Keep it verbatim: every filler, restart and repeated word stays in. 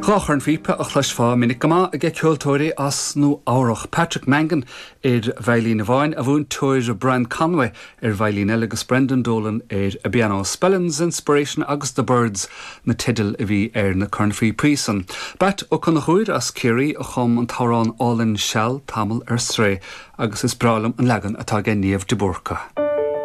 Dhá chornphíopa a chloisfeá minic go maith ag ceoltóirí as Nua Eabhrac Patrick Mangan ar veidhlín amháin a mhúinteoir Brian Conway ar veidhlín eile agus Brendan Dolan ar an bpianó Spellins Inspiration agus the Birds na teidil a bhí ar na cornphíopaí san. Batt Ó Conchúir as Ciarraí a chum an t-amhrán álainn Seal Tamall ar Strae agus is breá liom an leagan atá ag Niamh de Búrca.